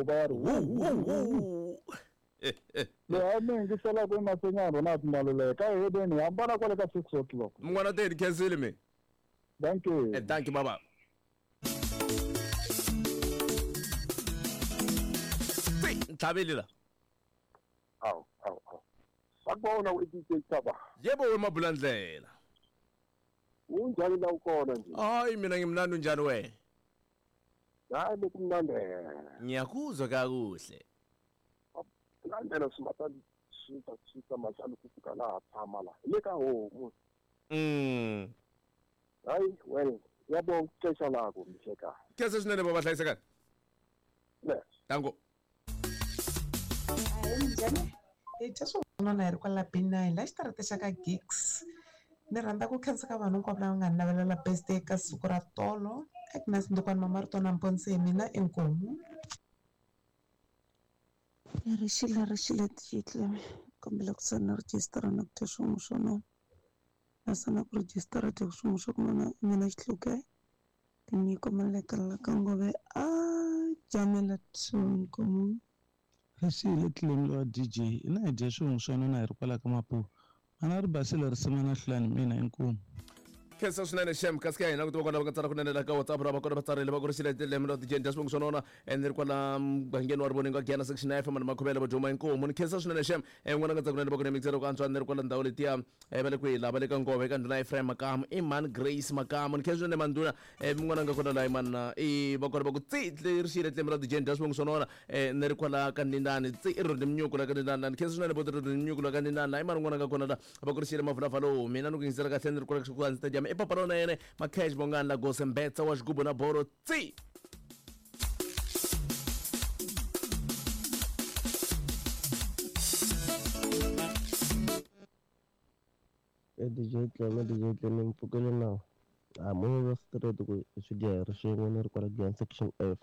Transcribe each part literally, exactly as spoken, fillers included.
va ri wu leyi mi yingiselaka emasenyana Ronald Maluleka hi hedeni hambana kwale ka six o'clock mun'wana teni khensile mi thank you eh, thank you baba ntlhaveli la awu awu awu sakubona u-D J Thaba yebo wemabulandlela unjani la ukhona nje hayi mina ngimnandi unjani wena hayi bekumnandi ngiyakuzwa kakuhle landela simatani sita sita mahlanu ku fika laha tshama la le ka homu mm hayi well yabonga ixesha lakho mhlekazi kese swinene baba hlayisekani ne tango hayi njhani hi dya swin'wana hi ri kwala B nine la xitarata xa ka Gigs ni rhandza ku khensa ka vanhu hinkwavo lava nga ni navelela birthday ka siku ra tolo Agnes Ndukwana Mama Ritona Mponsi hi mina inkomu Rixile rixile tixitlemi kombela ku sana rejistara na ku dya swin'we swo nona naswona ku rejistara dya swin'we swa ku nona mina xihluke tinyiko maleka la ka ngove a jamela inkomu Rixile tlemi wa D J ina hi dya swin'we swo nona hi ri kwala ka Mapuva mana ri basile risimu na hlulani mina inkomu khensa swinene xem kasi ka hina ku tiva kona va nga tsala kunene la ka WhatsApp ra va kona va tsarile va ku ri xile lembe ra D J dya swivongo swo nona ene ri kwala mugangeni wa Rivoningo Giyani section F mani Makhuvele va Juma inkomu ni khensa swinene xem n'wana nga tsaka kunene va ku ni mixero ku antswa ni ri kwala ndhawu letiya va le kwihi la va le ka Ngove ka ndhuna Ephraim Makamu i mani Grace Makamu ni khensa swinene mandhuna n'wana nga kona la mana i va kona va ku tsi ri xile lembe ra D J dya swivongo swo nona ni ri kwala ka Ndindani tsi i ri Mnyuku la ka Ndindani ni khensa swinene boti ri Mnyuku la ka Ndindani i mani n'wana nga kona la va ku ri xile mavulavalo mina ni ku yingisela kahle ni ri kwala ku ndzi ta e papa rona yene Makhesh Bongani la Gose Mbetsa wa xigubu na boro tsi e D J Tleme D J Tleme mpfukele nawu a munhu wa straight ku swi dya hi ri swin'we ni ri kwala Giyani section F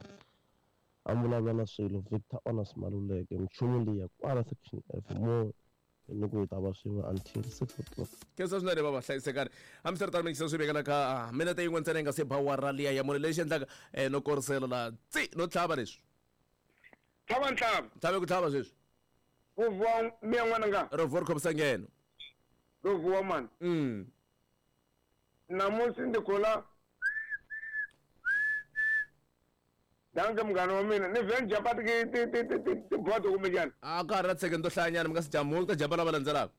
a vulavula na swilo Victor Honors Maluleke minchumu liya kwala section F mo ni ku hi ta va swin'we until six o'clock khensa swinene baba hlayisekani hambiswiritano mi swi vekela ka minete yin'we ntsena yi nga se ba wara liya ya mune lexi endlaka no korisela la tsi no tlhava leswi tlhava ntlhava tlhave ku tlhava sweswi ku vuwa miya n'wananga ro vuwa ri khomisa ngheno ro vuwa mani mm namunsi ndzi khula danke munghana wa mina ni vhe ni jumpa tibodo kumbexana a ka ha ri na second to hlayanyana mi nga si jamula ku ta jumpa lava landzelaka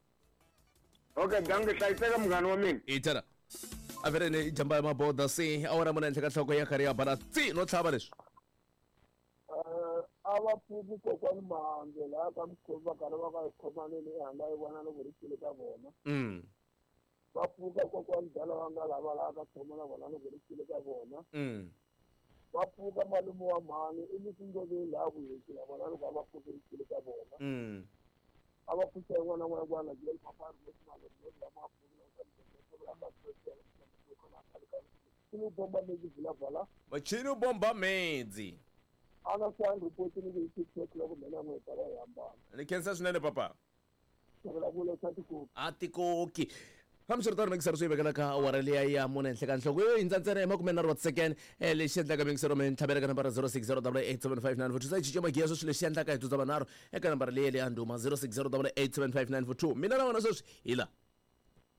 okay danke hlayiseka munghana wa mina i tshela a vele ni jumpa ya maboda se awara mune henhla ka nhloko ya karhi ya bala tsi no tlhava leswi a va pfuki kokwani Mahandze laha ka mukhomi va karhi va ka khomaneni ehanga yi vona loko ri xile ka vona mm va pfuka kokwani dala va nga lava laha ka khoma na vona loko ri xile ka vona mm va pfuka malume wa mhani i misindoveni laha ku hekila vona loko a va pfuke xile ka vona mm a va pfuxa yin'wana na n'wana bomba medzi vula machini bomba medzi ana swa report ni ku six o'clock mina n'we ta va hambana ni khensa swinene papa vulavula swa tikoki a tikoki hambiswiritano mingisero swi vekela ka awara liya ya mune henhla ka nhloko yo hindza ntsena hi makume nharhu wa tisecond lexi endlaka mingisero mi ntlhavela ka nambara zero six zero double eight seven five nine four two sa cinca magiya sweswi lexi endlaka hi dzudza vanharhu eka nambara leyi leya ndhuma zero six zero double eight seven five nine four two mina na wena sweswi hi la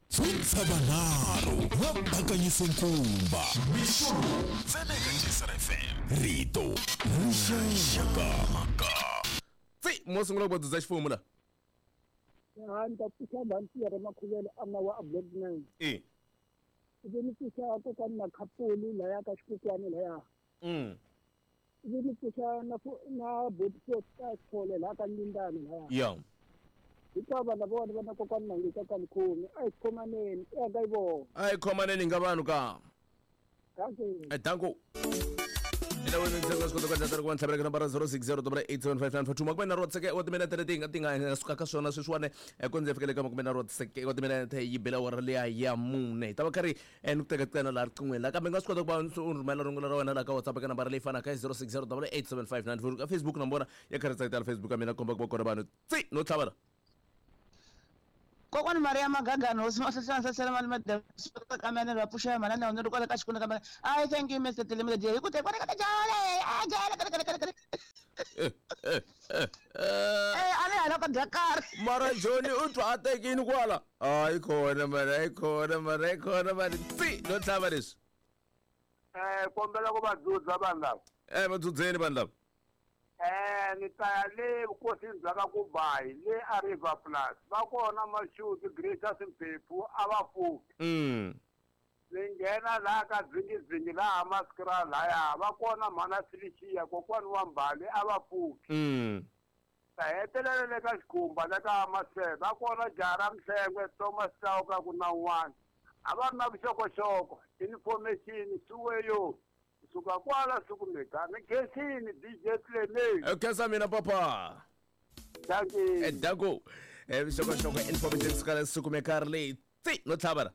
dzudza vanharhu va bakanyise nkumba mixo ntsena eka J S R F M rito rixaka tsi mo sungula ku va dzudza xifumu la ha ni ta pfuxa mhani Makhuvele a nga wa a block nine e ivi ni pfuxa kokwani Makhapulu laya ka xikokwani laya mm ivi ni pfuxa na na boti ka Sithole laha ka Ndindani laya ya hikuva vana vona va na kokwani Mangisa ka Mkhomi a hi khomaneni i aka yi vona a hi khomaneni nga vanhu ka danke danko ela wena ndzi nga swi kota ku endla ku va ntlhavela ka nambara zero six zero double eight seven five nine four two makume nharhu wa tiseke wa timinete leti nga ti nga suka ka swona sweswiwani ku ndzi fikele ka makume nharhu wa tiseke wa timinete yi bela awara liya ya mune hi ta va karhi ni ku teka ntsena laha riqingweni la kambe nga swi kota ku va u rhumela rungula ra wena laha ka WhatsApp ka nambara leyi fanaka hi zero six zero double eight seven five nine four ka Facebook na vona ya karhi tsakitela Facebook ya mina komba ku va kona vanhu tsi no tlhavela Kokwani Maria Magagana hosi Mahlahla mali madam ka mene va pfuxa mana na ni ri kwala ka xikolo ka mene I thank you Mister Tlemi hi ku te kwala ka jale a jale ka ka ka Eh a ni hala ka dya karhi. Mara Johnny u twa a tekini kwala. Hayi khona mara, hayi khona mara, hayi khona mara. Tsi no tlhava leswi. Eh kombela ku va dzudza vanhu lava. Eh va dzudzeni vanhu lava. Eh ni ta ya le vukosini bya ka Kubayi le a River Plus. Va kona Mashudu Greater Simphephu a va pfuki. Mm. Ni nghena laha ka dzingizingi laha Maskra laya va kona mhana Felicia kokwani wa Mbali a va pfuki. Mm. Ta hetelela le ka Xikhumba le ka Maseve va kona Jara Mhlengwe Thomas Chauka ku na un'wana. A va ri na vuxokoxoko information suweyo suka kwala sukumeka ni khensini D J Clement. Eh khensa mina papa. Thank you. Eh danko. Eh vuxokoxoko information suka sukumeka ri leyi. Tsi no tlhava.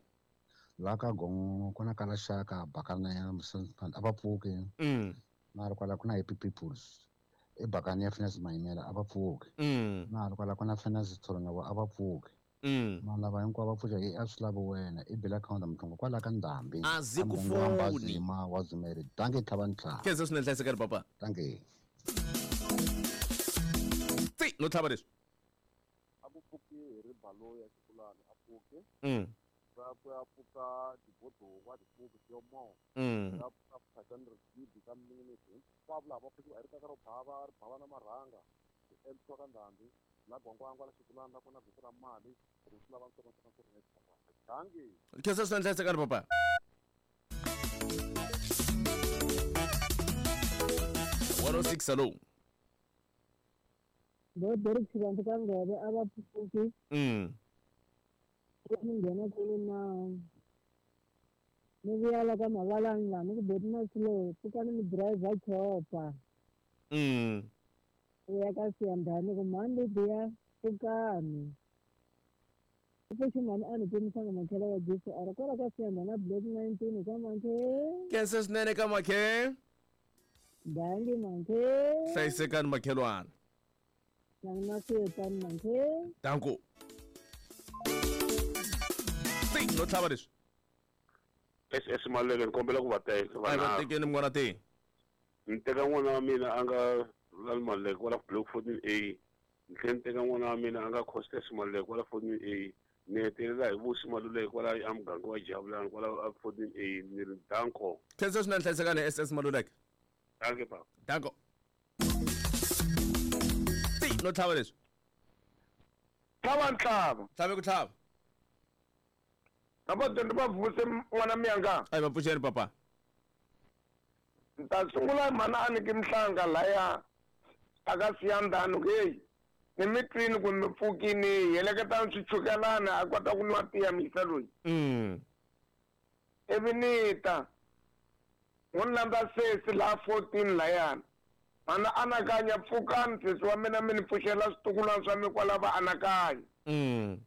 La ka gongo ku na kala xaka bakana ya Msantana a va pfuki. Mm. Na ri kwala ku na Happy Peoples. I bakana ya Finance Mayimela a va pfuki. Mm. Na ri kwala ku na Finance Tholonga a va pfuki. Mm. Vanhu lava hinkwavo va pfuxa hi a swi lavi wena i bela account mhlongo kwala ka Ndhambi. A zi ku foni. Ma wa Zumeri. Dankie tlhava ntlhava. Khensa swinene hlayisekani papa. Dankie. Tsi no tlhava leswi. A ku pfuki hi ribalo ya xikulani a pfuki. Mm. Va ku ya pfuka tibodo wa tipuku tiyomo. Mm. Ya pfuka phakani rigidi ka minute. Hinkwavo lava va pfukiwa hi ri kaka ro bava ri bava na marhanga. Emtwa ka Ndhambi. La gwangwangwa la xikulani la kona vito ra mali ri swi lava ntsongo ntsongo ntsongo dankie. Khensa swinene hlayisekani papa. one oh six hello. Bo Derek Xivandla ka Ngove a va pfuki. Mm. Ni nghena kule na ni vuya la ka Mavalani laha ni ku boti Masilo pfukani mi driver chopper. Mm. U ya ka Siyandhani ku mhani Lidiya pfukani. Pfuxi mhani a ni timisanga makhela wa Jesu a ri kwala ka Siyandhani a block nineteen ka Makhe. Khensa swinene ka Makhe. Dankie Makhe. Hlayisekani makhelwana. Na na siyetani Makhe. Danko. Tsi no tlhava leswi. S S Maleke ni kombela ku va teka. A va tekeni munghana te. Ni teka n'wana wa mina a nga Lal Maleke kwala block fourteen A. Ni tlhela ni teka n'wana wa mina a nga Costes Maleke kwala fourteen A. Ni hetelela hi Vusi Maluleke kwala a muganga wa Jabulani kwala fourteen A. Ni ri danko. Khensa swinene hlayisekani S S Maluleke. Dankie papa. Danko. Tsi no tlhava leswi. Tlhava ntlhava. Tlhave ku tlhava. Lava dyondzi va vuse n'wana miyanga. A va pfuxeni papa. Ni ta sungula mhana a ni ki Mhlanga laya a ka Siyandhani ku heyi ni mi twini ku mi pfukini heleketani swichukelana a kota ku nwa tiya misa loyi. Mm. Ivi ni ta n'wi landza sesi laha fourteen layani. Mhana anakanya pfukani sesi wa mina mi ni pfuxela switukulwana swa mi kwala va anakanya. Mm.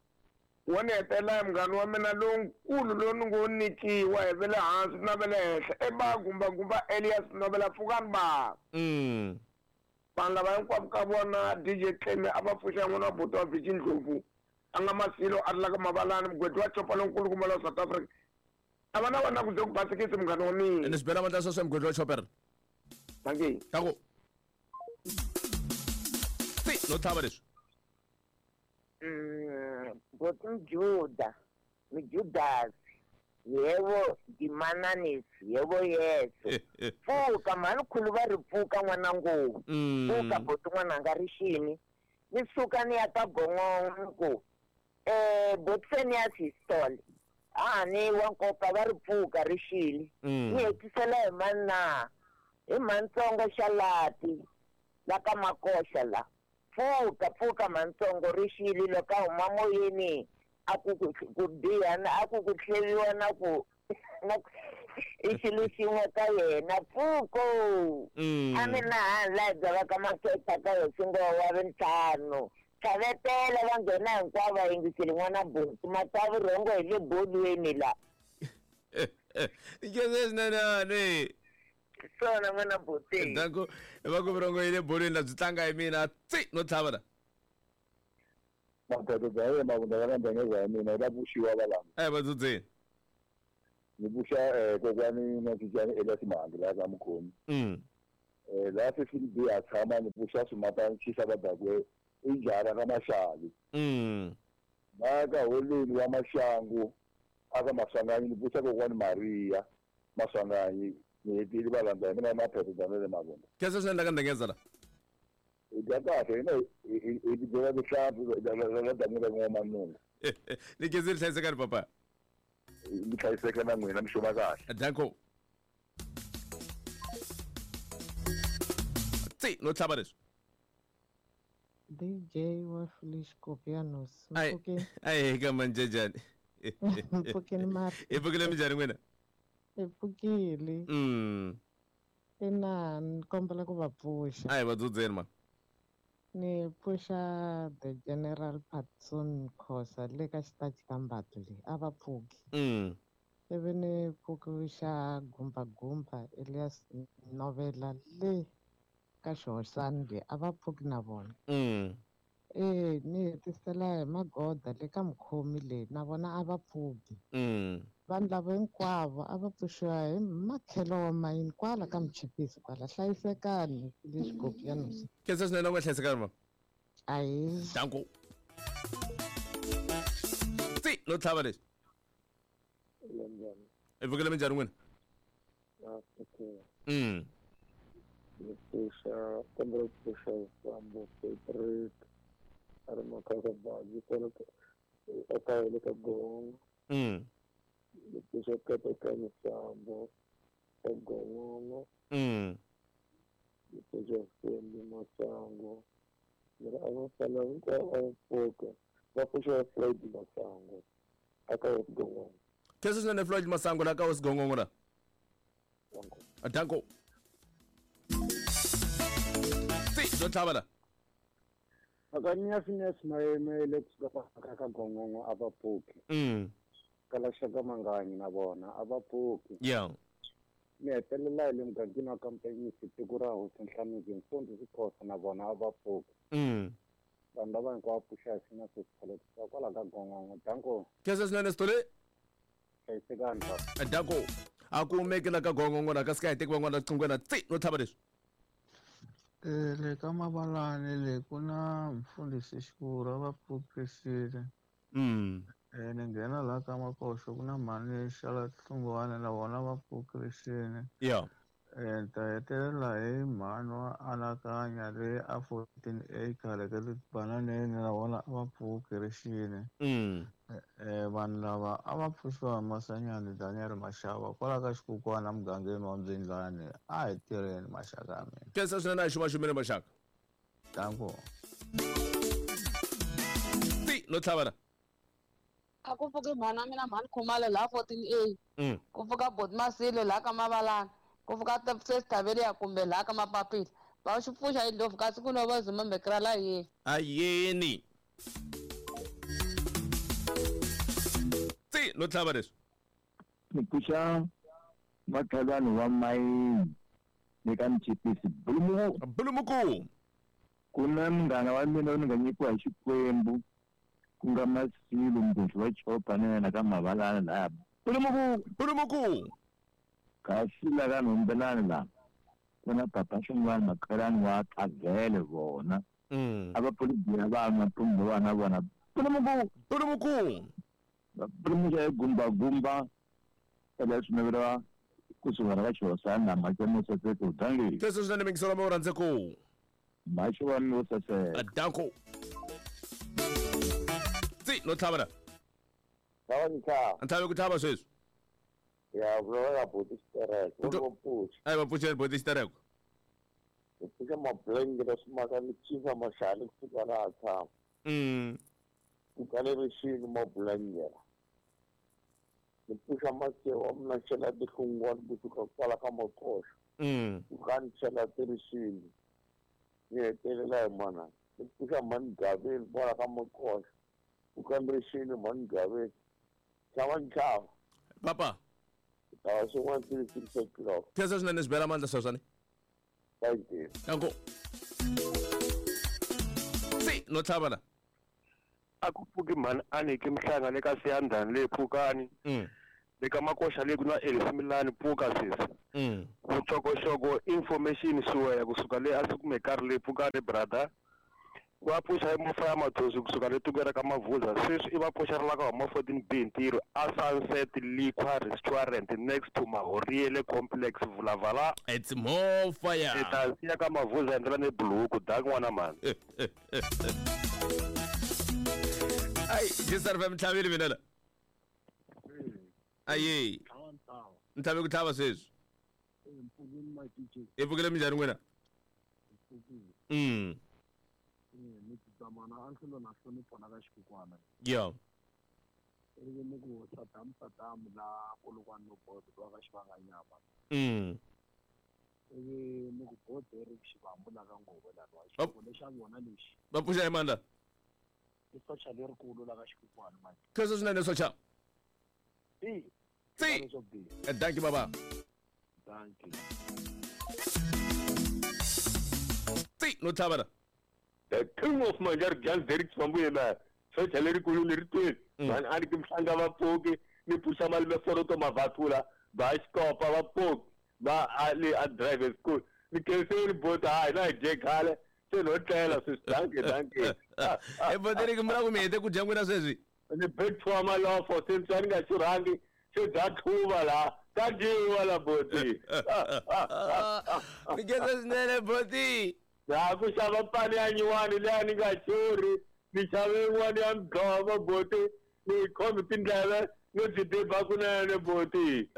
Wo ni hetelela hi munghana wa mina lonkulu lowu ni ngo nyikiwa hi ve le hansi na ve le henhla i ba gumbagumba Elias Novela pfukani ba. Mm. Vanhu lava hinkwavo ka vona D J Cleme a va pfuxa n'wana wa buti wa Virgin Ndlovu a nga Masilo a ri la ka Mavalani mugwedi wa chopa lonkulu kumbe la South Africa. A va na vona ku ze ku basikisi munghana wa mina. Ni swi bela mandla sweswo mugwedi wa chopper. Dankie. Danko. Tsi no tlhava leswi. Mm, boti Mjuda, Mjudasi, yebo Dimananisi, yebo Yesu. Pfuka mhani khulu va ri pfuka n'wana ngopfu. Pfuka boti n'wananga ri xini. Ni suka ni ya ka Gongongo ku eh boti Fenias Histol. Ah ni wa nkoka va ri pfuka ri xini. Ni hetisela hi mani na hi Mantsongo Xalati la ka Makoxa la. Pfuka pfuka Mantsongo ri xile loko a huma moyeni a ku ku biha na a ku ku tlheviwa na ku na i xilo xin'we ka yena pfuko. A mi na hala bya va ka Makhetha ka hosingo wa vintlhanu tlhavetela va nghena hinkwavo va yingiseli n'wana buti matsavu rhongo hi le bolweni la. Khensa swinene. Swona n'wana buti. Danko va ku rhongo hi le bolweni la byi tlanga hi mina tsi no tlhava la. Madoda bya yena mavunda ya ndengeza ya mina va pfuxiwa va lama. Eh va dzudzeni. Ni pfuxa eh kokwani na Cincani Elias Mhangi la ka Mukhomi. Mm. Eh la fifteen B a tshama ni pfuxa swimatana xisa va dakwe i njhara ka Maxavi. Mm. Na ka holweni wa Maxangu aka Maswanganyi ni pfuxa kokwani Maria Maswanganyi ni hetile va landza hi mina maphepha bya le mavona. Khensa swinene la ka Ndengeza la. Hi dya kahle hina hi hi tibyela tihlampfi la dan'wini ra n'wamanungu. Ni khensile hlayisekani papa. Mi hlayiseka na n'wina mi xuma kahle. Danko. Tsi no tlhava leswi. D J wa Felice Copianos. Ai ai ka manjejani. Mpfukeni mara. Hi pfukile minjhani n'wina? Hi pfukile. Mm. Ina ni kombela ku va pfuxa. Ai va dzudzeni ma. Ni pfuxa the General Patson Khosa le ka xitachi ka Mbato le a va pfuki. Mm. Ivi ni pfuxa Gumba Gumba Elias Novela le ka Xihoxani le a va pfuki na vona. Mm. Eh ni hetisela hi magoda le ka mukhomi le na vona a va pfuki. Mm. Vanhu lava hinkwavo a va pfuxiwa hi makhelo wa mayini kwala ka Mchipisi kwala hlayisekani le Xikopianos. Khensa swinene u nga hlayisekani ma. Ahi. Danko. Tsi no tlhava leswi. Hi pfukile minjhani n'wina? Mm. Ni pfuxa kombela ku pfuxa Sambo Patrick a ri makaka bazi kwala a le ka Gongo. Mm. Ni pfuxa Katekani Sambo ka Gongongo. Mm. Ni pfuxa Fembi Masango. Ni ri a va fana hinkwavo a va pfuka va pfuxa Floyd Masango a ka Gongongo. Khensa swinene Floyd Masango la ka Gongongo la. Danko. Tsi no tlhava la. Akanya Phineas Maeme le kusuka ka Gongongo a va pfuki. Mm. Kala xaka Manganyi na vona a va pfuki. Yeah. Ni hetelela hi le mugangeni wa Kampanyisi tiko ra Hosi Nhlamuzi Mfundhisi Khosa na vona a va pfuki. Mm. Vanhu lava hinkwavo pfuxa hi Phineas Sithole kusuka kwala ka Gongongo. Danko. Khensa swinene Sithole. Hlayisekani papa. Danko. A ku humeki la ka Gongongo la ka sika hi teki van'wana qingwena tsi no tlhava leswi. Eh le ka Mabalani le ku na mfundhisi Xikuru va pfukisile. Mm. Eh ni nghena la ka Makoxo ku na mhani Xala Hlungwane na vona va pfukisile. Yeah. Eh ta hetelela hi mhani wa Anakanya le a fourteen acre le ka Bananeni na vona va pfukisile. Mm. Eh vanhu lava a va pfuxiwa hi Masanyani Daniel Mashava kwala ka Xikukwana mugangeni wa Mbyindlani a hi tirheni maxaka ya mina. Khensa swinene a hi xumaxumile maxaka. Danko. Tsi no tlhava la. A ku pfuki mhani wa mina mhani Khumalo laha fourteen A. Mm. Ku pfuka Boti Masile laha ka Mavalana. Ku pfuka Sesithaveliya kumbe laha ka Mapapila. Va xi pfuxa hi ndlopfu kasi ku no va zuma mbekera la yeni. Ayeni. Tsi no tlhava leswi. Ni pfuxa makhelwani wa mayini le ka Mchipisi Bulumuku. Bulumuku. Ku na munghana wa mina ni nga nyikiwa hi Xikwembu ku nga Masilo Mbuzi wa Chopa na yena ka Mavalana laya. Bulumuku. Bulumuku. Kasi la ka Nhombelani la ku na papa Xingwani makhelwani wa Kavhele vona. Mm. A va pfulibiya vanwa mpumbu vana vona. Bulumuku. Bulumuku. Va pfulumuxa hi gumba gumba eka swinaveriwa kusuka ra ka Xihosana na mhaka mo saseka udangi. Khensa swinene mingiselo wa rhandze ku. Mhaxo wa mi wo saseka. Danko. Tsi no tlhava la. Tlhava ni tlhava. Ntlhava ku tlhava sweswi. Ya vulavula boti xitereko. Va pfuxa. Ai va pfuxeni boti xitereko. Hi pfuxa mablengere swimaka ni cinca maxali kusuka laha tshama. Mm. Ku kale rixini mablengere. Ni pfuxa masewa mina chela tihlungwana kusuka kwala ka Makoxo. Mm. Ku ka ni chela tirixini. Ni hetelela hi mana. Ni pfuxa mhani Gaveni kwala ka Makoxo. Ku ka ni rixini mhani Gaveni. Tlhava ni tlhava. Papa. Tava swin'wana three six o'clock. Khensa swinene swi bela mandla sweswani. Thank you. Danko. Tsi no tlhava la. A ku pfuki mhani Aniki Mhlanga le ka Siyandhani le Pfukani. Mm. Le ka Makoxa le ku na Elisi Milani pfuka sesi. Mm. Vuxokoxoko information suweya kusuka le a swi kumekari le pfukani brother. Va pfuxa hi mofa ya Mathosi kusuka le tikweni ra ka Mavuza sweswi i va pfuxa ri la ka huma fourteen B ntirho a Sunset Liquor Restaurant next to Mahoriele Complex Vulavala. It's more fire. I ta siya ka Mavuza ndlela ni buluku dak n'wana mani. Ai, J S R F M ntlhavile mina la. Aye. Ntlhavi ku tlhava sweswi. I pfukile minjhani n'wina? Mm. Ni tsamana a nhlelo na hlonipho na ka xikukwana. Yeah. Ivi ni ku Saddam Saddam la kolokwani no bodo wa ka xivanganyama. Mm. Ivi ni ku bodo ri xivambu la ka nghovo la wa xivongo lexa vona lexi. Va pfuxa hi mandla. I socha lerikulu la ka xikukwana manje. Khensa swinene socha. Si. Si. Thank you baba. Thank you. Si, no tlhava la. The king of Manjar Jan Derek Swambuyela, socha lerikulu leri twini. Vanhu a ni ki mhlanga va pfuki ni pfuxa malume foroto mavathula va xikopa va pfuki va a le a drive school ni khenseni bota hayi na hi dye khale se no tlela sweswi danke danke. E boteriki mi la ku mi hete ku dya n'wina sweswi. Ni bethiwa malofo se ntswa ni nga xurhangi se bya tlhuva laha ka dyiwa la boti. Ni khensa swinene boti. Ya ku xava pani ya nyuwani leyi ni nga xurhi ni xave yin'wana ya mudlova boti ni yi khomi tindleve no byi diba kunene boti.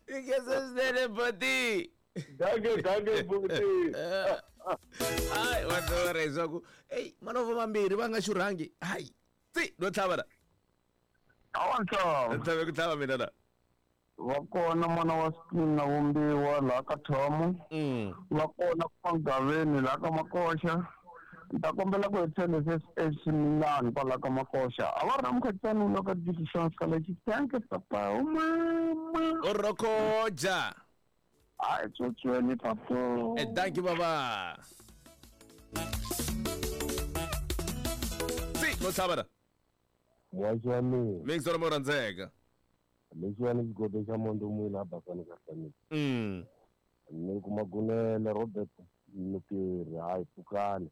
Ni khensa swinene boti. Danke danke boti. Hayi wa tiva leswaku eyi malofo mambirhi va nga xurhangi hayi tsi no tlhava la. Awa ntlhava. Ntlhave ku tlhava mina la. Va kona n'wana wa Spin na Vumbiwa laha ka Thomo. Va kona Mangaveni laha ka Makoxa. Ni ta kombela ku hetisa leswi Milani kwala ka Makoxa. A va ri na mukhatisani wu ka Division Scholarship. Thank you papa. O mama. O rokoja. Hayi tsotsweni papa. Eh thank you baba. Si, no tlhava la. Muaxi wa mina. Mix wa mo rhandzeka. Lexiwani xigodo xa Mondo Mwina a basani ka hlanile. Mm. Ni kuma Gunele Robert Nukeri hayi pfukani.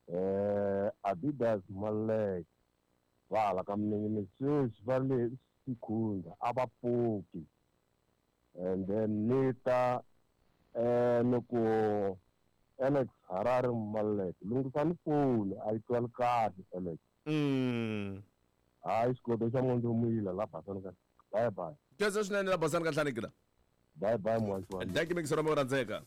Eh Adidas Malek va hala ka Minengene sweswi va le Sikhundla a va pfuki. And then ni ta eh ni ku Alex Harare Malek lunghisani foni a yi twali kahle Alex. Mm. Hayi xigodo xa Mondo Mwila la basani ka bye bye. Khensa swinene la basani ka hlaniki la. Bye bye muaxi wa mina. Thank you mix wa mo rhandzeka.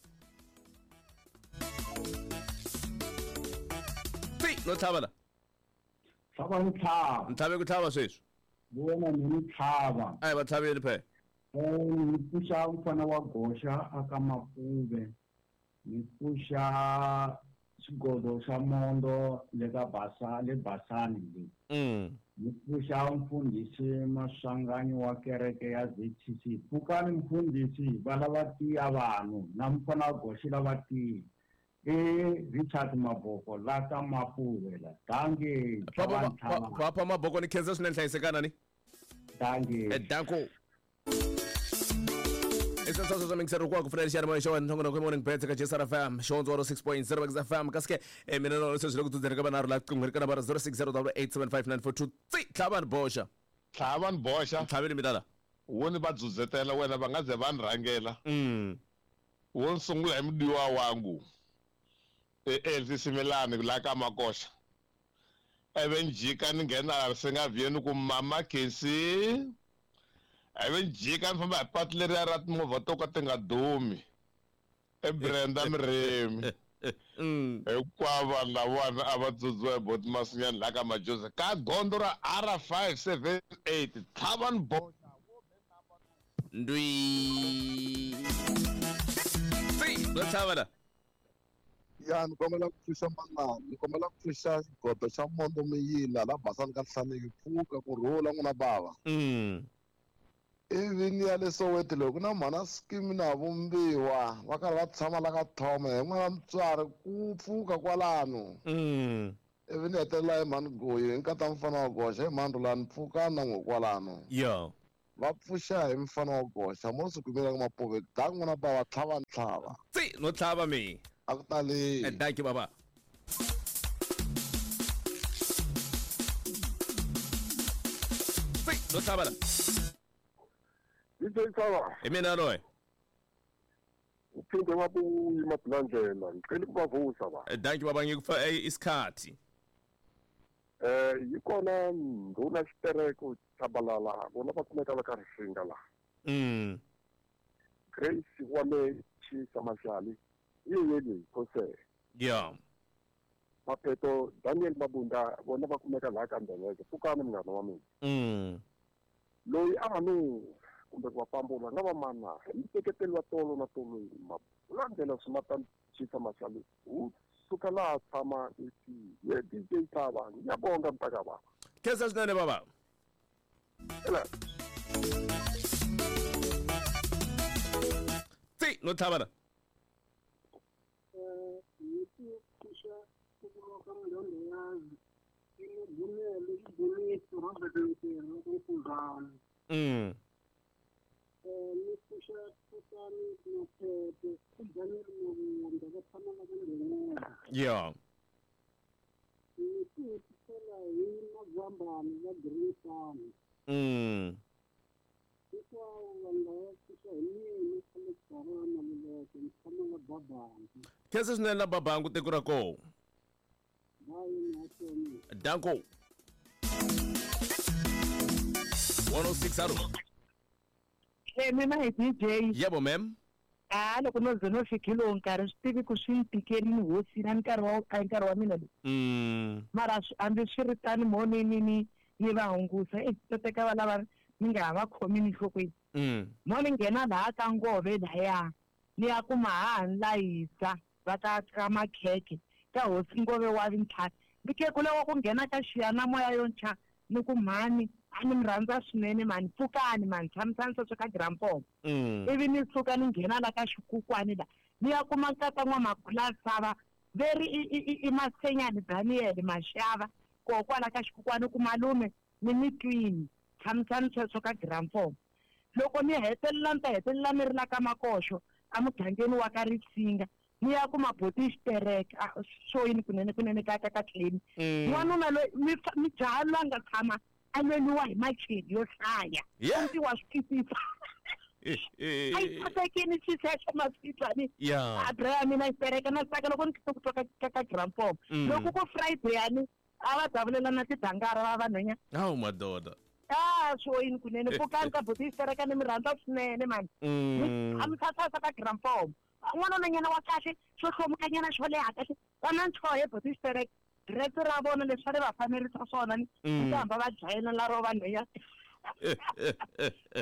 Si, no tlhava la. Tlhava ni tlhava. Ntlhave ku tlhava sweswi. Vona ni ni tlhava. Ayi va tlhaveli phe. Ni pfuxa mfana wa goxa aka Mapuve. Ni pfuxa xigodo xa Mondo le ka Basa le Basani le. Mm. Ni pfuxa mfundhisi Maswanganyi wa kereke ya Z T C. Pfukani mfundhisi va lava tiya vanhu na mfana wa goxa lava tiya. E Richard Maboko la ka Mapuve la. Dankie. Papa Papa Maboko ni khensa swinene hlayisekana ni. Dankie. Eh danko. Esasasa swa mixer kwa ku funela xiyani xa wena ntlhongo morning bets ka J S R F M xondzo six point zero X F M kasi ke mina no sweswi loko tudzela ka vanharhu la qinghweni ka nambara zero six zero eight seven five nine four two three tlhava ni boxa. Tlhava ni boxa. Tlhaveni mina la. Wo ni va dzudzetela wena va nga ze va ni rhangela. Mm. Wo ni sungula hi mudiwa wangu. E Elsie Simelane la ka Makoxa. Ivi ni jika ni nghena Risingavieni ku mama Khensi. Ivi ni jika ni famba hi patu leriya ra timovha to ka ti nga dumi. E Brenda Miremi. Hinkwavo vanhu lavawani a va dzudziwa hi boti Masinyani laha ka Majozi ka gondzo ra R five seven eight tlhava ni boxa. Ndwi. Si, no tlhava la. Ya ni kombela ku pfuxa manana ni kombela ku pfuxa xigodo xa Mondo Miyila la basani ka hlaneki pfuka ku rhula n'wina bava. Mm. Ivi ni ya le Soweto loko na mhana Scheme na Vumbiwa va karhi va tshama la ka Thome hi n'wana mutswari ku pfuka kwalano. Mm. Ivi ni hetelela hi mhani Goyi nkata mfana wa goxa hi mhani Rhulani pfuka na n'we kwalano. Yo. Va pfuxa hi mfana wa goxa mo swi kumela ka mapove da n'wana bava tlhava ntlhava. Tsi no tlhava mi. A ku tali. Dankie baba. Tsi no tlhava la. D J Tsaba. Hi mina loyi. Uphinde wabuya Mabulandlela ngicela ukubavusa ba. Dankie baba ngikufa isikhathi. Eh yikona nduna xitereko Tshabalala vona va kumeka va ka Risinga la. Mm. Grace wa me Chisa Mashali yeyeli Khose. Yeah. Mapeto Daniel Mabunda vona va kumeka la ka Ndebele pfukani munghana wa mina. Mm. Loyi a nga no kumbe ku va pambula nga va mana miteketelo wa tolo na tolo Mabulandlela Sumata Chisa Mashali u suka laha tshama eti ye D J Tsaba ngiyabonga mntaka baba. Khensa swinene baba. Ela. Tsi no tlhava la. Eh yithi kusha ukuloka ngondonyazi imibunelo iboniso Robert Ntero kumfundana. Mm. Eh nikusha kusani nophephe uDaniel Mabunda va tshama va nghenela. Yeah. Nikusela hi Mazambani va Green Farm. Mm. Hinkwavo vanhu lava pfuxa hi mina Alex Barana Maluleke ni tshama la Babangu. Khensa swinene la Babangu tiko ra koho. Bye mahlweni. Danko. one oh six aro. Hey, mina hi D J. Yebo ma'am. Ah loko no ze no fikile nkarhi swi tivi ku swi ni tikelini hosi na nkarhi wa a nkarhi wa mina lowu. Mm. Mara hambi swi ri tani mo ni ni ni ni va hungusa e to teka va lava ni nga ha va khomi ni nhlokweni. Mm. Mo ni nghena laha ka Ngove laya ni ya kuma ha ni layisa va ta ka makhekhe ka hosi Ngove wa vintlhanu ni kekule wa ku nghena ka xiyanimoya yo ntshwa ni ku mhani a ni mi rhandza swinene mani pfukani mani tshamisani sweswo ka grampomo. Ivi ni suka ni nghena la ka xikukwani la ni ya kuma nkata n'wamapurasi veri i i i Masenyani Daniel Mashava kokwala ka xikukwani ku malume ni mi twini tshamisani sweswo ka grampomo. Loko ni hetelela ni ta hetelela ni ri la ka Makoxo emugangeni wa ka Risinga ni ya kuma boti xitereka swo yini kunene kunene ka ka ka tleni. N'wanuna loyi mi jaha loyi a nga tshama a lweliwa hi macheli yo hlaya ndzi wa swi twisisa. A yi kotekini xisexo maswitwani a bra ya mina xitereka na tsaka loko ni twa ku twa ka ka grampomo. Loko ku Friday yani a va davulela na tidangara va vanhwenya. Hawu madoda. Ah swo yini kunene pfukani ka boti xitereka ni mi rhandza swinene mani. A mi thathasa ka grampomo. N'wana nyana wa kahle xo hlomukanyana xo leha kahle va na ntlhohe boti xitereka dress ra vona leswi va fanerisa swona ni ta hamba va dlayela la ro vanhwenya.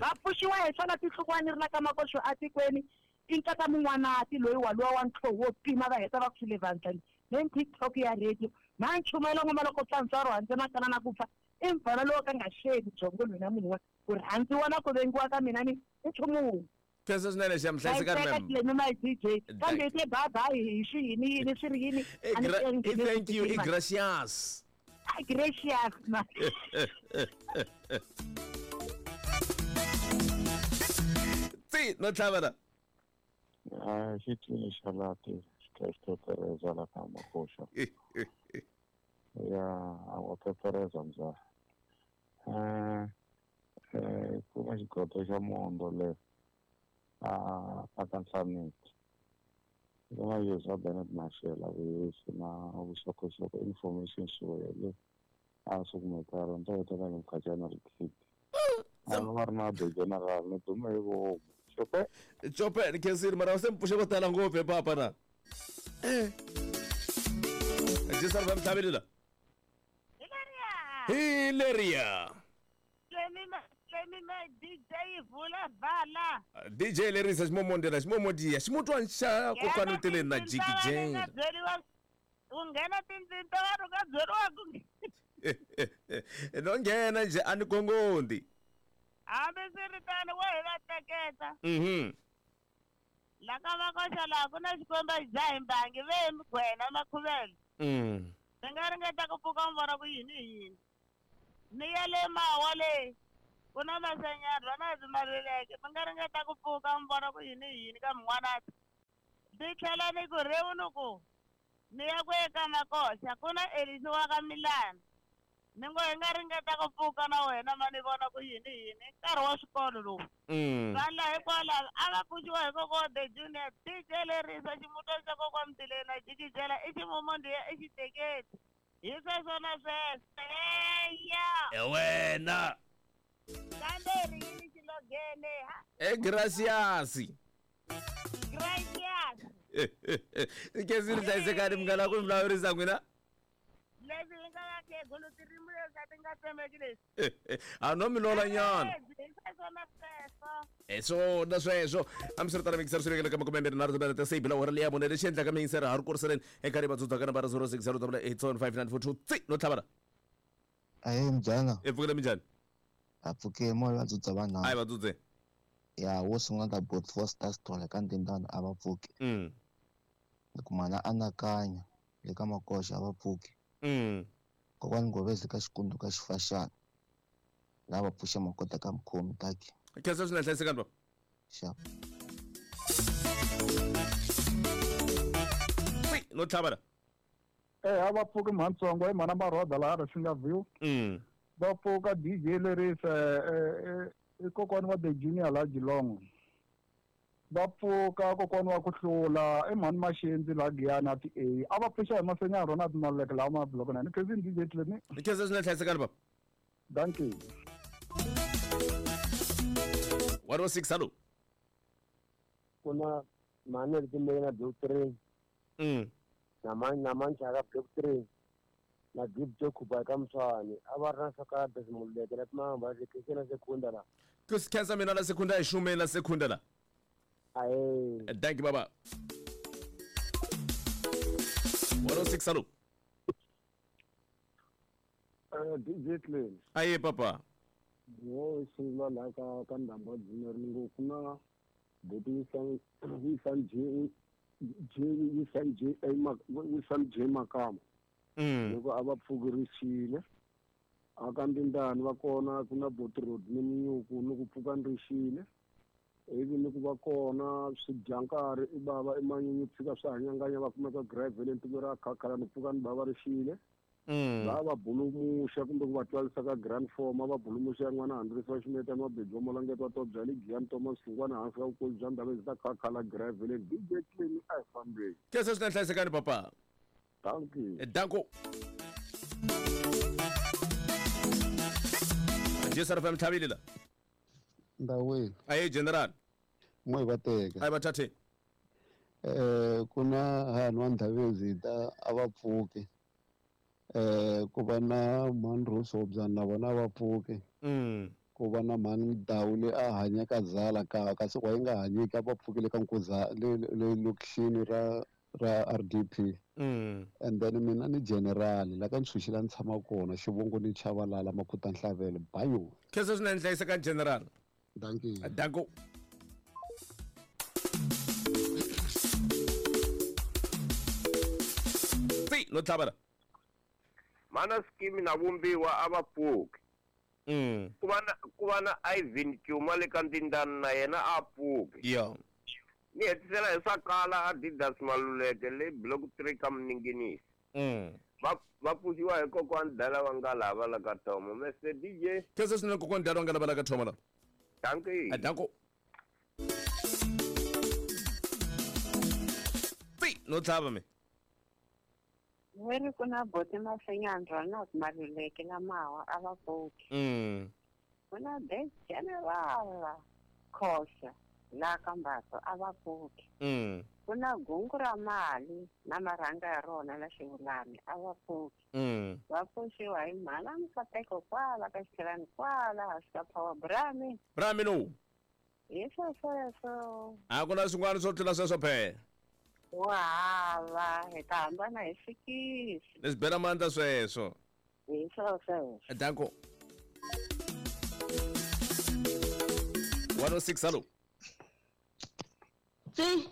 Va pfuxiwa hi swona tinhlokwani ri la ka Makoxo atikweni i nkata mun'wanati loyi waluwa wa ntlhoho wo pima va heta va ku swile vandlani leyi TikTok ya radio ma nchumayela ngoma loko tsantswaro handle na kana na ku pfa i mfana lowo ka nga xeki byongo lwina munhu wa ku rhandziwa na ku vengiwa ka mina ni i nchumu wun'we. Khensa swinene xa mhlayisekani ma'am. Hlekani my D J. Kambe te bye bye hi swi yini yini swi ri yini. Thank you, i gracias. Gracias ma. Tsi no tlhava la. Ah, xi twini xa lati xi pepereza la ka Makoxa. Ya, a wa pepereza mza. Eh, eh, kuma xigodo xa mondo le. A a ka Nhlamuti. Nga yuza Bernard Mashela vuyisi na vuxokoxoko information swo le a swi kumekaka ni ta hetelela ni mkhacana ri khiti. A va ri na the general ni dume hi vomu. Xope. Xope ni khensile mara se mi pfuxe vo tala ngopfu he papa na. Eh. Jisar va mtlhaveli la. Hi leriya. D J vula vala. D J lerisa ximomondela ximomodiya ximutwa xa kokwani u tele na jikijela. U nghena tindzimi ta vanhu ka byeriwa ku no nghena nje a ni gongondi. Hambi swi ri tano wo hi va teketa. Mhm. La ka Makoxa laha ku na xikwembu a xi dzahi mbangi ve hi migwena makhuvele. Mm. Mi nga ringeta ku pfuka mi vona ku yini hi yini. Ni ya le Mawa le ku na Masenyani va na Maluleke mi nga ringeta ku pfuka mi vona ku yini hi yini ka min'wanati. Ni tlhela ni ku rewu ni ku ni ya ku eka Makoxa ku na Elisi wa ka Milana. Ni ngo hi nga ringeta ku pfuka na wena ma ni vona ku yini hi yini nkarhi wa swikolo lowu. Vanhu laha hikwalaho a va pfuxiwa hi kokwa the junior D J lerisa ximuto xa kokwa Mtileni jikijela i ximumondiya i xiteketi hi sweswo na sweswo eya e wena kambe ri yini xilogene ha e gracias gracias kezi ri hlayisekani munghana ku mi vulavurisa n'wina leswi hi nga vakhegulu tirimi leswi a ti nga tsemeki leswi a no mi lola nyana hi sweswo na sweswo hi swona sweswo hambiswiritano mixer swi vekele ka makume mbirhi nharhu timinete ta seyi bila hora leya mune lexi endlaka mixer ha ri kuriseleni eka ri vatsudza ka nambara zero six zero double eight seven five nine four two tsi no tlhavana ahe mjana i pfukile minjhani a pfuke moya vatsudza vanharhu ayi vatsudze ya wo sungula ta bot four stars tole ka ndindana a va pfuki mm ni kumana anakanya le ka Makoxa a va pfuki mm kokwani Ngovezi ka Xikundu ka Xifaxana lava pfuxa makota ka mukhomi taki khensa swinene hlayisekani baba xap tsi no tlhavana eh a va pfuki mhantsongo i mhana Maroda laha ri singa view mm va pfuka D J lerisa i kokwani wa the junior la Geelong va pfuka kokwani wa ku hlula i mhani Maxendzi la Giyani a ti A a va pfuxa hi Masenyani rona ti Maluleke lawa ma block nine khensa D J Tleni khensa swinene hlayisekani baba dankie one oh six hello kuna mhani ri timele na block three mm na mani na manchaka block three na gift jo khuba ka Mswani a va ri na swa ka Mululeke na timamba na sekunda la khensa mina la sekunda hi xume la sekunda la ahe thank you baba one oh six hello eh D J Tleni aye papa wo sungula la ka ka ndamba junior ni ngo ku na buti Wilson Wilson J J Wilson J A Wilson J Makama mm loko a va pfukirisile a ka ndindani va kona ku na buti Rodney Minyuku ni ku pfuka nrixile ivi ni ku va kona swidyankari i bava i manyunyu tshika swi hanyanganya va kumeka gravel tiko ra khakhala ni pfuka ni bava rixile va va bulumuxa kumbe ku va twarisa ka grand form va bulumuxa n'wana Handrisa wa Ximetani wa Bejo Molangeti wa Tobya le Giyani Thomas Hlungwana hansi ka vukulu bya ndhawu ta khakhala gravel D J Tleni a hi fambeni khensa swinene hlayisekani papa dankie danko J S R F M tlhavile la ndawini aye general n'we va teka ayi va thathe eh ku na hanhu wa Ndhavezita a va pfuki eh ku va na mhani Rosobya na vona va pfuki mm ku va na mhani Dawu le a hanyaka zala ka kasi wa yi nga hanyiki a va pfukile ka Nkuza le le lokixini ra ra R D P mm and then mina ni general la ka Ntshunxi la ni tshama kona xivongo ni Chavalala Makhuta Nhlavelo bayo khensa swinene hlayisekani general dankie danko tsi no tlhavana mana skimi na vumbiwa a va pfuki mm ku va na ku va na Ivan Cuma le ka Ndindani na yena a pfuki yo ni hetisela hi swa kala Adidas Maluleke le block three ka Mninginisi mm va va pfuxiwa hi kokwani Dala wa Ngalava la ka Thomo Mister D J khensa swinene kokwani Dala wa Ngalava la ka Thomo la dankie danko tsi no tlhava me Weri ku na boti Masenyani Ronald Maluleke na Mawa a va pfuki mm ku na the general Khosa la ka Mbaso a va pfuki mm ku na gungu ra mali na marhanga ya rona la Xivulani a va pfuki mm va pfuxiwa hi mhana Mkateko kwala ka Xitlhelani kwala hansi ka Power Brami Brami no hi swo sweswo a ku na swin'wana swo tlula sweswo phela wa hava hi ta hambana hi sikisi leswi bela mandla sweswo hi swo sweswo danko one oh six hello tsi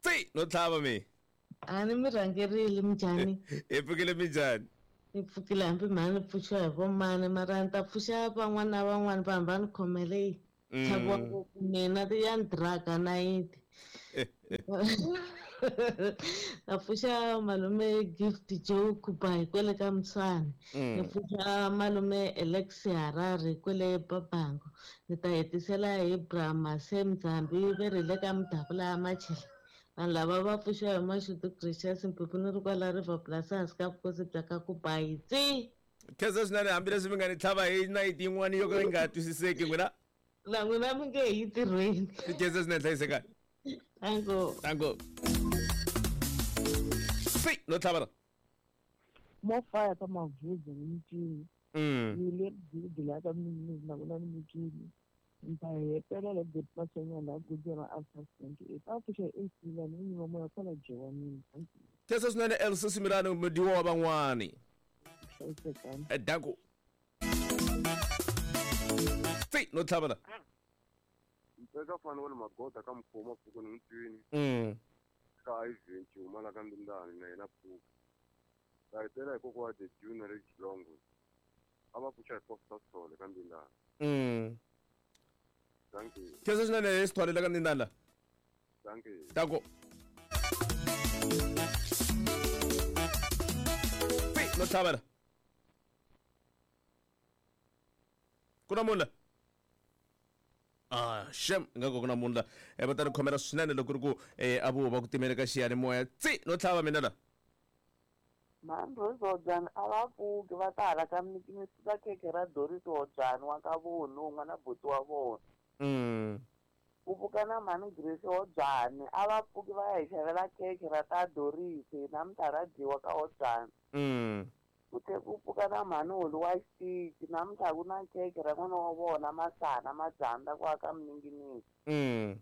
tsi no tlhava me A ni mi rhangerile minjhani? Hi pfukile minjhani? Ni pfukile hambi mhani pfuxiwa hi vomani mara ni ta pfuxa van'wana na van'wana va hamba ni khomele tlhaviwa ngopfu mina ya ni draga nayiti. Na pfuxa malume Gift Joe Kubai kwele ka Mtshwane. Ni pfuxa malume Alexi Harare kwele Babango. Ni ta hetisela hi Brahma Sam Nzambi ve ri le ka Mudavula ya Machela. Vanhu lava va pfuxiwa hi Mashudu Gracious Mphephu ni ri kwala River Plus hansi ka vukosi bya ka Kubai tsi. Khensa swinene hambileswi mi nga ni tlhava hi nayiti yin'wana yo ka yi nga twisiseki n'wina. Na n'wina mi nge yi tirhweni. Khensa swinene hlayisekani. Tango. Tango. Si, no tlhava la. Mo fire ka Mavuzi ni micini. Mm. Ni le gidi la ka mini na kuna ni micini. Nta hetela le bit masenyana la gudela after twenty-eight. A pfuxa A C la ni ni moya kwala Jewani. Khensa swinene Elsa Simirani mudiwa wa van'wani. Hlayisekani. Danko. Si, no tlhava la. Mpeka fana wale magoda ka mkhoma pfuko ni mtwini. Mm. Ka Ivan Chuma la ka Ndindani na yena pfuko. Ta hetela hi kokwa the Junior Rich Longo. A va pfuxa hi Costa Sole ka Ndindani. Mm. Thank you. Khensa swinene Sithole la ka Ndindani la. Thank you. Danko. Si, no tlhava la. Ku na munhu la? Ah, shem nga ku na munhu la. Eh va ta ri khomela swinene loko ri ku eh a vo va ku timele ka xiyanimoya. Tsi, no tlhava mina la. Mhani Rose Hobyani a va pfuki va ta hala ka ka khekhe ra Doris Hobyani wa ka vona n'wana buti wa vona. Mm. Ku pfuka na mhani Grace Hobyani a va pfuki va ya hi xavela khekhe ra ta Doris namuntlha ra dyiwa ka Hobyani. Mm. Ku tlhe ku pfuka na mhani Holi wa xitichi namuntlha ku na khekhe ra n'wana wa vona Masana Madzanda ku aka Mninginingi. Mm.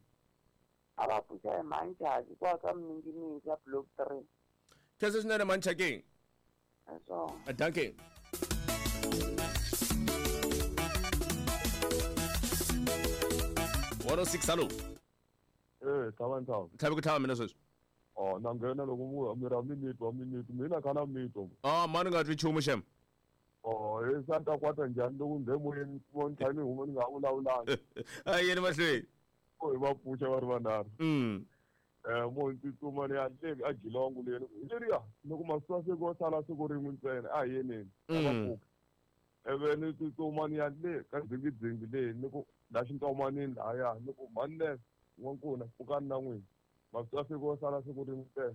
A va pfuxa hi mhani Chaki ku aka Mninginingi ya block three. Khensa swinene mhani Chaki. Aswo. Dankie. one oh six hello. Eh, tlhava tlhava. Tlhavi ku tlhava mina sweswi. Oh, na nghena loko mu mi ra minute wa minute mina kana mito. Ah, mani nga twi nchumu xem. Oh, e sa ta kwata njhani loko nge moyeni mo ni tlhela ni huma ni nga vulavulanga. A yeni mahlweni. Oh, hi va pfuxa va ri vanharhu. Mm. Eh, mo ni tsutsuma ni ya le a Geelong le hi leriya loko masiku ya siku sala siku rin'we ntsena a hi yeneni a va pfuka. Ivi ni tsutsuma ni ya le ka dzingidzingi le ni ku la xintomanini lahaya ni ku mhani le n'wankuna pfukani na n'wina masiku ya siku sala siku rin'we ntsena.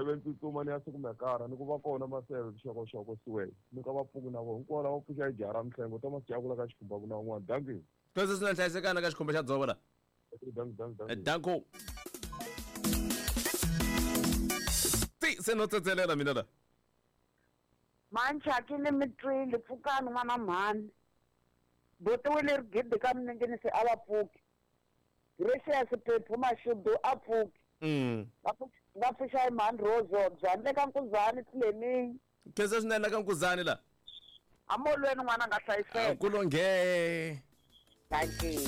Ivi ni tsutsuma ni ya siku mekara ni ku va kona maseve xokoxoko siwele ni ka va pfuki na vona hinkwavo lava pfuxa hi jaha ra Mihlengo Thomas Jakula ka xikhumba ku na un'wana. Dankie. Khensa swinene hlayisekana ka xikhumba xa dzovo la. Dankie, dankie, dankie. Danko. Ti se no tsetselela mina la. Mhani Chaki ni mi twile pfukani n'wana mhani. Buti wile ri gidi ka Mninginisi a va pfuki. Gracious Phephu Mashudu a pfuki. Mm. Va pfuxa hi mhani Rose Hobyani le ka Nkuzani Tleming. Khensa swinene la ka Nkuzani la. Amolweni n'wana nga hlayiseka. Ku longhe. Dankie.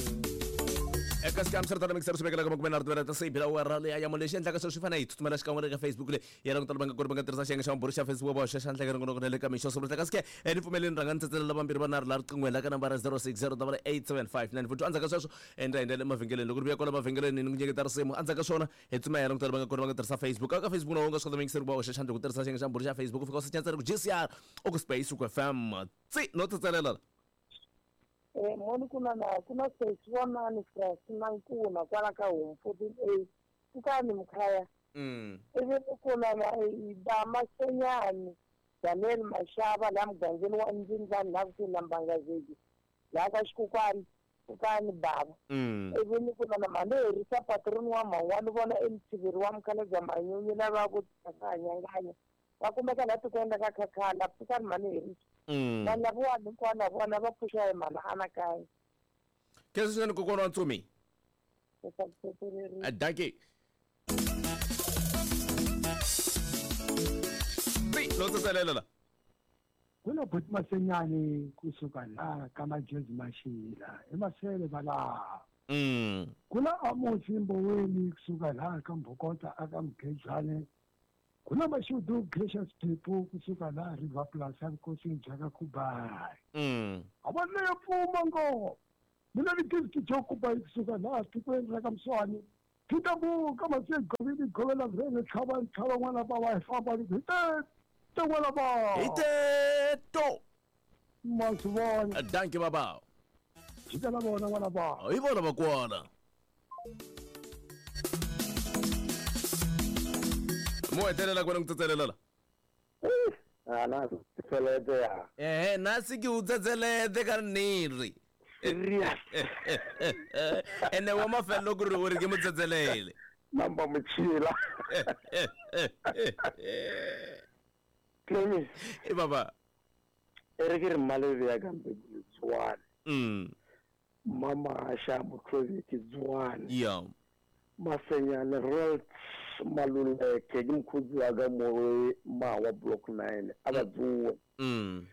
Eka xikam swi ri mixer swi vekela ka makume nharhu tivela ta seyi bila wera leya ya lexi endlaka sweswo swi fanele hi tsutsumela xikan'we le ka Facebook le ya languta va nga koti va nga tirhisa xiyenge xa mabulu xa Facebook va hoxa xandla ka ringonoko na le ka mixo swo kasi ke ni pfumeleni rhanga ni tsetselela vambirhi vanharhu laha riqingweni la ka nambara zero six zero double eight seven five nine four two endzhaku ka sweswo endla hi ndlela emavhengeleni loko ri vuya kwala mavhengeleni ni ku nyiketa risimu endzhaku ka swona hi tsuma hi languta va nga koti va nga tirhisa Facebook ka Facebook na u nga swi kota mixer ku va hoxa xandla ku tirhisa xiyenge xa mabulu xa Facebook u fika u secha ku G C R u ku space u ku F M tsi no tsetselela. Eh, moni kuna na kuna sesi wa mani Frasi Mankuna kwala ka home fourteen A pfukani mkhaya. Mm. Ivi kuna na ba Masenyani Daniel Mashaba la mugangeni wa Ndzindzani la kusuhi na Mbangazeki la ka Xikukwani pfukani baba. Mm. Ivi ni kuna na Malerisa patroni wa Mawani vona emtshiveri wa Mkhalabye Manyunyu lava ku hanyanganya va kumeka la tikweni ra ka Khakhala pfukani Malerisa. Mm. Vanhu lavawani hinkwavo na vona va pfuxa hi mhani anakanya. Khensa swinene kokwana wa Ntsumi. Dankie. Ti no tsetselela la. Ku na buti Masenyani kusuka la ka Majezi Mashila emasele va laha. Mm. Ku na Amosi Mboweni kusuka laha ka Mbhokota aka Mkhejane Ku na mashudu gracious people kusuka laha River Plus enkosini bya ka Kubai. Mm. A va leyo pfuma ngo. Mina ni gift jo Kubai kusuka laha tikweni ra ka Mswani. Titabuka masegobini govela vele tlhava tlhava n'wana ba wa famba ni hi te te n'wana ba. Hi te to. Masivona. Dankie baba. Jikela vona n'wana ba. Hi vona vakwana. Mo hetelela kwena ku tsetselela. Ah na tsetselete ya. Eh na si ke u tsetselete ka nnete. Serious. Ene wa mafelo ku ri u ri ke mo tsetselele. Namba mutshila. Clemi. E baba. E re ke re mmalebe ya ka mpe tswane. Mm. Mama Asha Motlobi ke tswane. Yeah. Masenyane Rolt Maluleke ke mkhudzi wa ka mo mawa block nine a ba tsuwe. Mm.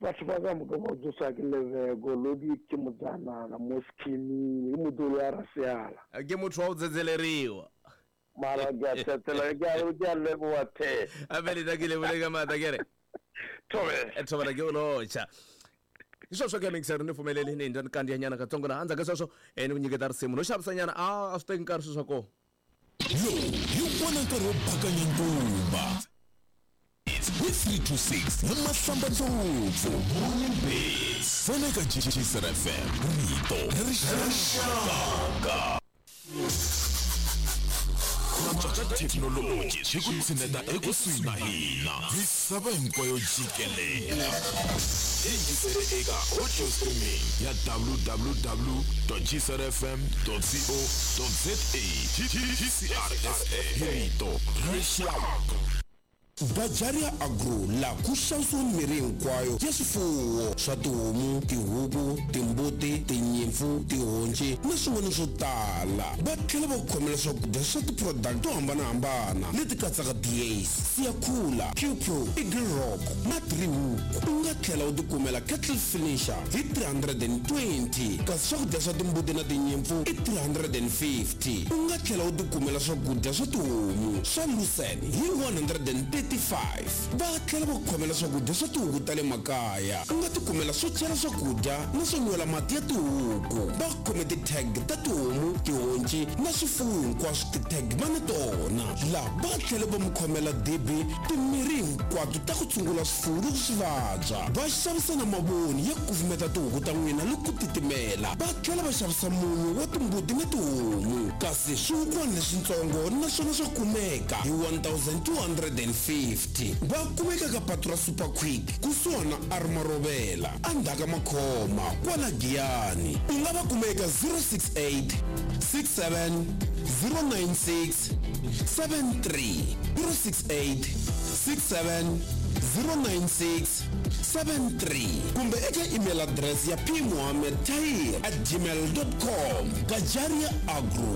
Batho ba ka moka ba tsosa ke lebego lodi ke motsana mo scheming ke modolo ya raseala. Ke motho wa o tsetseleriwa. Mara ke a tsetsela ke a ke a leboha the. A bele da ke lebole ka mata ke re. Thobe. Thobela ke o locha. Sweswo ke mixer ni pfumeleli ni ndza ni kandziya nyana katsongo laha endzhaku ka sweswo ni ku nyiketa risimu no xavisa nyana a a swi teki nkarhi swilo swa kona. Lowu hi wona nkarhi wo bakanya ntumba hi three two six na Mahlamba Ndlopfu Morning Beats Foneka G G S F M rito ra rixaka. Thekinoloji swi ku tshineta ekusuhi na hina misava hinkwayo jikelela. Yingisele eka audio streaming ya w w w dot g c r f m dot co dot z a. G C R S A hi rito ra rixaka. Bajaria Agro la ku xavisiwa mirhi hinkwayo ya swifuwo swa tihomu, tihuku, timbuti, tinyimpfu, tihonci na swin'wana swo tala. Va tlhela va ku khomela swakudya swa ti-product to hambanahambana leti katsaka D A's, Siyakhula, Q Pro, Eagle Rock na Three Hook. U nga tlhela u tikumela kettle finisher hi three hundred and twenty, kasi swakudya swa timbuti na tinyimpfu i three hundred and fifty. U nga tlhela u tikumela swakudya swa tihomu swa lucerne hi one hundred and thirty five. Va tlhela va ku khomela swakudya swa tihuku ta le makaya. U nga tikumela swo chela swakudya na swo nwela mati ya tihuku. Va khome ti-tag ta tihomu, tihonci na swifuwo hinkwaswo, ti-tag va na tona laha. Va tlhela va mu khomela dibi, timirhi hinkwato ta ku tshungula swifuwo loko swi vabya. Va xavisa na mavoni ya kufumeta tihuku ta n'wina loko ku titimela. Va tlhela va xavisa munyu wa timbuti na tihomu, kasi swihukwana leswitsongo naswona swa kumeka hi one thousand two hundred and fifty. Va kumeka ka patu ra Super Quick kusuhana Armarovela endzhaku ka Makhoma kwala Giyani. U nga va kuma eka zero six eight six seven zero nine six seven three, zero six eight six seven zero nine six seven three, kumbe eka email address ya pmohammed tahir at gmail dot com. Gajaria Agro.